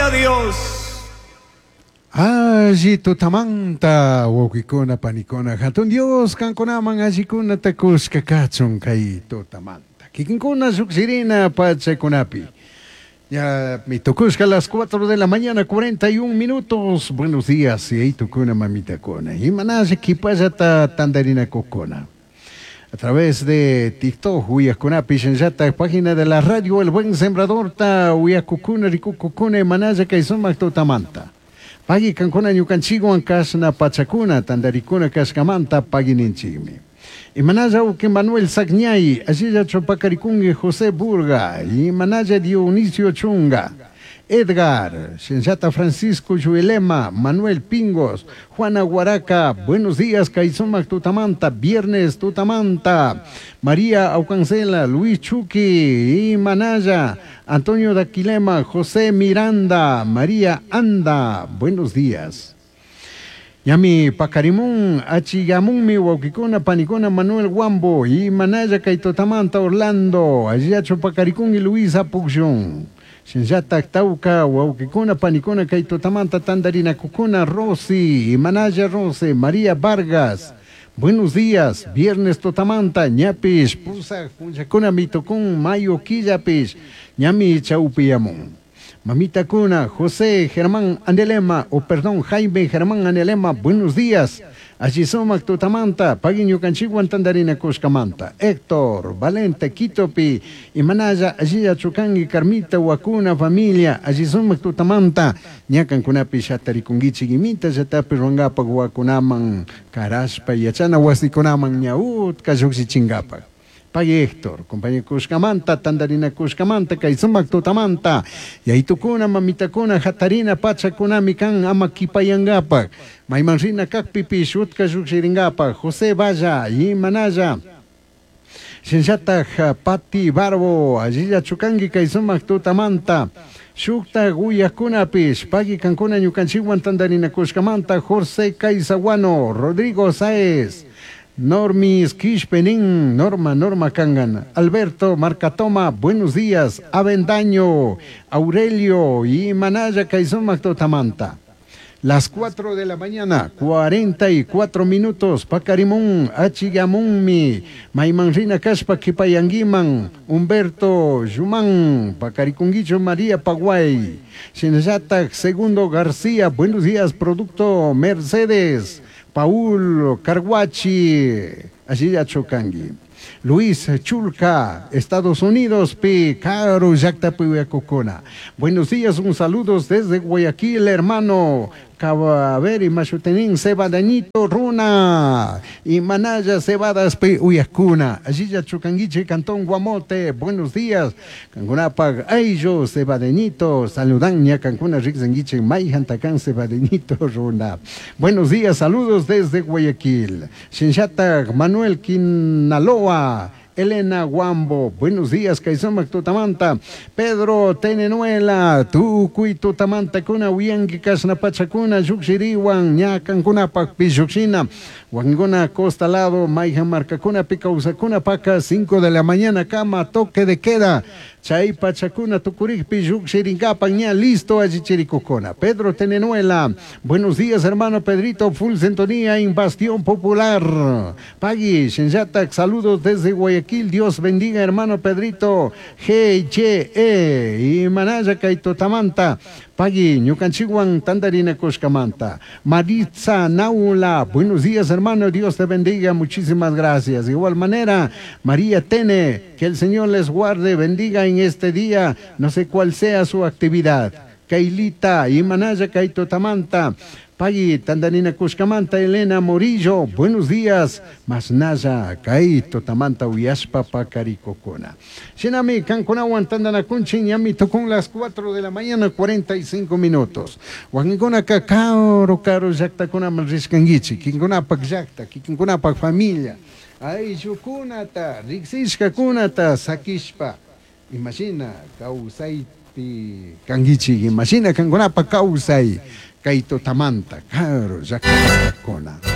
Gloria a Dios. Alli tutamanta wawqikuna panikuna hatun Dios kankunaman allikunata kushka kachun kay tutamanta. Kikinkuna lluqshirina pachakunapi. Ya mi tukushka a las 4 de la mañana 41 minutos. Buenos días, yayitukuna mamitakuna. Imanalla kipallata tantarinakukuna. A través de TikTok, uyakunapi shinllatak página de la radio El Buen Sembrador ta uyakukuna rikukukuna imanalla kay sumak tutamanta. Pagui kankuna ñukanchikwan kashna pachakuna tantarikuna kashkamanta pagui ninchikmi. Imanalla uki Manuel Sagñay, allilla chupakarikungi José Burga, Imanalla Dionisio Chunga, Edgar, Shinllata Francisco Yuelema, Manuel Pingos, Juana Guaraca, buenos días, Kay sumak Tutamanta, viernes Tutamanta, María Aucancela, Luis Chuqui, Imanaya, Antonio Daquilema, José Miranda, María Anda, buenos días. Ñami Pacarimun, Achigamunmi, Wawqikuna, Panikuna, Manuel Guambo, Imanaya, Kay tutamanta, Orlando, Alliacho Pacaricún y Luisa Pucllón. Shinllatak Tauca, Wawqikuna, Panikuna, Kay tutamanta, Tandarina Kukuna, Rosy, Imanaya Rosy, María Vargas. Buenos días, viernes tutamanta, ñapish, Pusa, Punchakuna, Mitocún, Mayo, Quillapish, Ñami, Chaupiyamun. Mamita Cuna, José Germán Andelema, o perdón, Jaime Germán Andelema, buenos días. Allí sumak tutamanta, pagui ñukanchikwan tandarina kushkamanta. Héctor, Valente, Quitopi, Imanaya, allí Chukangi, Carmita, Huacuna, familia, allí sumak tutamanta, ñakankunapi shatarikungichik imita, llatapi ruangapak huacunaman, karashpa, yachana wasikunaman, ñautka lluksichingapak. Pagui Héctor, compañero Kushkamanta, Tandarina Kushkamanta, Kay sumak Tutamanta, Yaitukuna, Mamitakuna, Hatarina, Pachakuna, Mikan, Ama Kipayangapak, Maymanrina Kakpipi, Shutka Shukshiringapak, José Valla, Imanaya, Shinllatak, Pati Barbo, Allilla Chukangi, Kay sumak Tutamanta, Shukta Guyakunapish, Pagui Kankuna, Ñukanchikwan, Tandarina Kushkamanta, José Kaisaguano, Rodrigo Sáez, Normis Quishpenín, Norma, Norma Kangan, Alberto Marcatoma, buenos días, Avendaño, Aurelio y Manaya Kay sumak Tutamanta. Las 4 de la mañana, 44 minutos, Pacarimun, Achigamunmi, Maimanrina Kashpa, Kipayanguiman, Humberto Yumán, Pacarikunguicho María Paguay, Shinyatak Segundo García, buenos días, Producto Mercedes, Paul Carguachi, allí Chocangui. Luis Chulca, Estados Unidos, P. Caro, Yactapuiacocona. Buenos días, un saludo desde Guayaquil, hermano. Cabaveri, Machutenín, Cebadañito, Runa, y Manaya, Cebadas, P. Uyacuna. Allí ya Chucanguiche, Cantón Guamote, buenos días. Cancunapac, Ayo, Cebadeñito, saludan, ña Cancuna, Rixanguiche, Mayjantacán, Cebadeñito, Runa. Buenos días, saludos desde Guayaquil. Shinchatac, Manuel Quinaloa, Elena Guambo, buenos días, Kay sumak Tutamanta, Pedro Tenenuela, Tukuy Tutamanta, Kuna, Uyangi, Kasna Pachakuna, Yuxiriwan, Ñacancuna, Pillukshina, Huangona, Costa Lado, Maijan Marcacuna, Picausacuna, Paca, 5 de la mañana, cama, toque de queda, Chay Pachacuna, Tucuricpi, Yuxirincapa, ña, listo, Ayichiricocona. Pedro Tenenuela, buenos días, hermano Pedrito, full sintonía en Bastión Popular. Pagui, Shinyatak, saludos desde Guayaquil, Dios bendiga, hermano Pedrito, G, H, E, y Manaya, Kaitotamanta, Pagui, Ñukanchikwan, Tandarina, Kushkamanta. Maritza Naula, buenos días, hermano, Dios te bendiga, muchísimas gracias. De igual manera, María Tene, que el Señor les guarde, bendiga en este día, no sé cuál sea su actividad. Kailita, Imanaya, Kaitotamanta, Pagui, Tandanina Kushkamanta, Elena Morillo, buenos días, Masnaya, Kaito, Tamanta, Uyashpa, Pacaricocona. Shinami, Cancunawan, Tandana Kunchin, Yami, tocó las 4 de la mañana, 45 minutos. Huangona, Cacao, Caro, Yactacuna, Malriscanguichi, Kingunapak, Yacta, Kingunapak, familia. Ayshukunata, Rixishkakunata, Sakishpa. Imagina, Kausaipi, Kanguichi, imagina, Cangunapa, Kausai. Kaito Tamanta, Caro, Yactacona.